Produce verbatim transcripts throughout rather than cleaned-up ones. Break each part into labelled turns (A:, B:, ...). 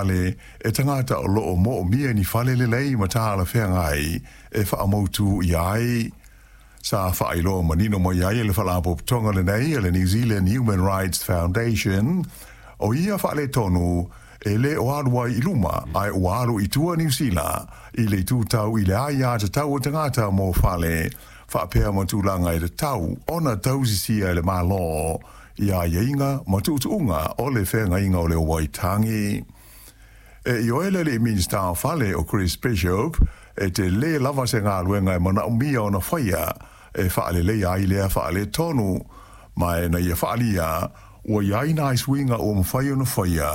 A: Ale e tagata o loo moomia ni fale lelei ma talafeagai e faamautu i ai. Sa faailoa manino mai ai e le Faalapotopotoga lenei a le New Zealand Human Rights Foundation, o ia faaletonu e lē o alu ai i luma ae ua alu i tua Niu Sila i le itu tau i le aiatatau o tagata mo fale faapea ma tulaga e tatau ona tausisia e le Malo i aiaiga ma tuutuuga o le feagaiga o le Waitangi. E ioe le alii Minisita o Fale o Chris Bishop, e telē lava se galuega e manaomia ona faia e faaleleia ai lea faaletonu, ma e na ia faaalia ua i ai nai suiga ua mafai ona faia,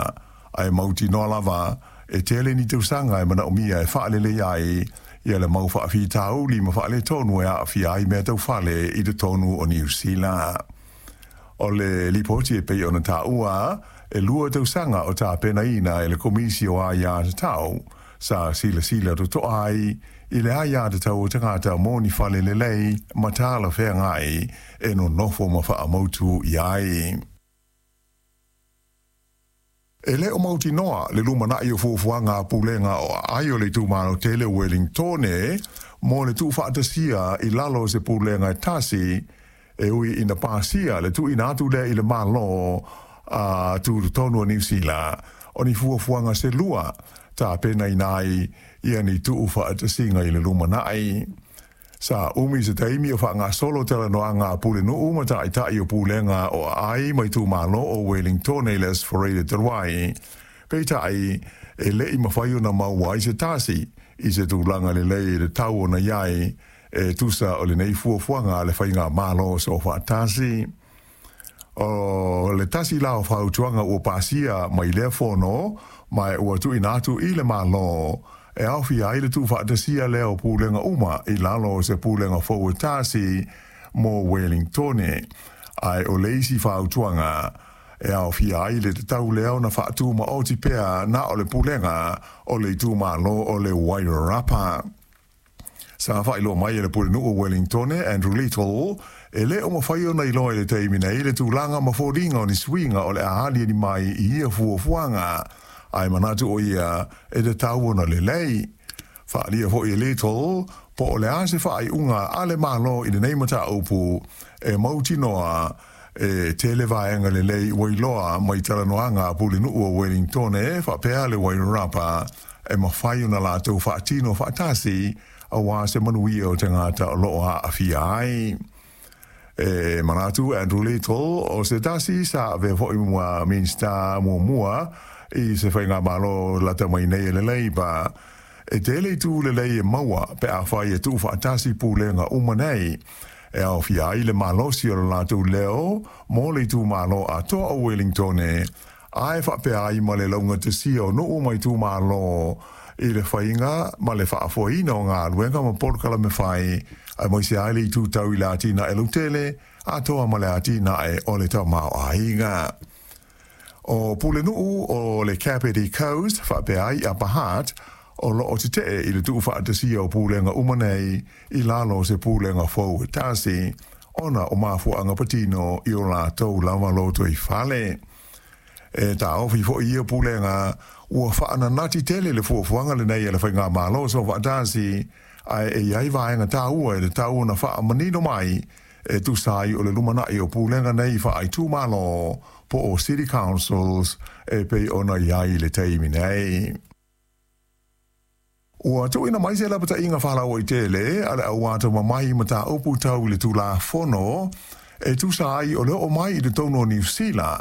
A: ae mautinoa lava e tele ni tausaga e manaomia e faaleleia ai ia le mau faafitauli ma faaletonu e aafia ai mea tau fale i totonu o Niu Sila. O le lipoti e pei ona taua, e lua tausaga o tapenaina e le Komisi o Aiatatau, sa silasila totoa ai i le aiatatau o tagata mo ni fale lelei ma talafeagai e nonofo ma faamautu i ai. E lē o mautinoa le lumanai o fuafuaga a pulega o aai o le itumalo tele Wellingtone mo le tuufaatasia i lalo o se pulega e tasi, e ui ina pasia le tuuina atu lea i le Malo a tutotonu o Niu Sila o ni fuafuaga se lua tapenaina ai ia ni tuufaatasiga i le lumanai. Sa umi se taimi o faagasolo talanoaga a pulenuu ma taitai o pulega o aai ma itumalo o Wellingtone i le Aso Faraile talu ai, peitai e lei mafai ona maua ai se tasi i se tulaga lelei e tatau ona i ai e tusa o lenei fuafuaga a le faigamalo soofaatasi. O le tasi la o fautuaga ua pasia mai lea fono ma ua tuuina atu i le Malo e aofia ai le tuufaatasia lea o pulega uma i lalo o se pulega fou e tasi mo Wellingtone, ae o le isi fautuaga e aofia ai le tatau lea ona faatumaoti pea na o le pulega o le itumalo o le Wairarapa. Sa faailoa mai e le pulenuu o Wellingtone, Andrew Little, e lē o mafai ona iloa i le taimi nei le tulaga ma foliga o ni suiga o le a aliali mai i ia fuafuaga, ae manatu o ia e tatau ona lelei. Faaalia foi e Little po o le a se faaiuga a le Malo i lenei mataupu, e mautinoa e tele vaega lelei ua iloa mai talanoaga a pulenuu o Wellingtone faapea le Wairarapa e mafai ona latou faatino faatasi auā se manuia o tagata o loo aafia ai. E manatu Andrew Little, o se tasi sa avea foi ma Minisita muamua i se faigamalo lata mai nei e le Labour, e tele itu lelei e maua pe afai e tuufaatasi pulega uma nei, e aofia ai le malosi o le latou leo mo le itumalo atoa o Wellingtone, ae faapea ai ma le laugatasia o nuu ma itumalo i le faiga ma le faafoeina o galuega ma polokalame fai, aemaise ai le itu tau i le atinae lautele atoa ma le atinae o le tamaoaiga. O pulenuu o le Kapiti Coast faapea ai Upper Hutt o loo tetee i le tuufaatasia o pulega uma nei i lalo o se pulega fou e tasi, ona o mafuaaga patino i o latou lava lotoifale. E taofi foi ia pulega ua faananati tele le fuafuaga lenei a le faigamalo soofaatasi, ae e i ai vaega taua e tatau ona faamanino mai e tusa ai o le lumanai o pulega nei faaitumalo po o City Councils e pei ona i ai i le taimi nei. Ua tuuina mai se lapataiga faalauaitele a le au atamamai i mataupu tau i le Tulafono e tusa ai o le oo mai i totonu o Niu Sila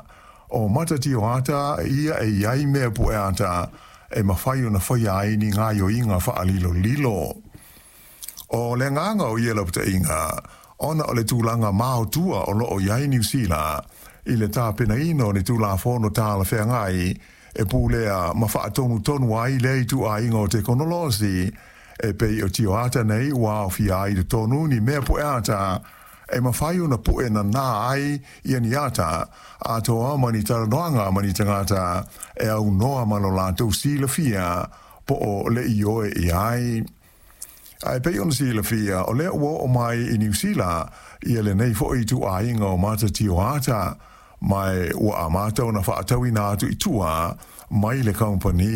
A: o mata tioata ia e i ai mea pueata e mafai ona faia ai ni gaoioiga faalilolilo. O le agaga o ia lapataiga, ona o le tulaga maotua o loo i ai Niu Sila i le tapenaina o ni Tulafono talafeagai e pulea ma faatonutonu ai lea ituaiga o tekonolosi e pei o tioata nei ua aofia ai i totonu ni mea pueata e mafai ona pue nanā ai ia ni ata atoa ma ni talanoaga ma ni tagata e aunoa ma lo latou silafia po o le ioe i ai. Ae pei ona silafia, o lea ua oo mai i Niu Sila ia lenei foi ituaiga o mata tioata, Ma e ua amata ona faatauina atu i tua mai le kamupani.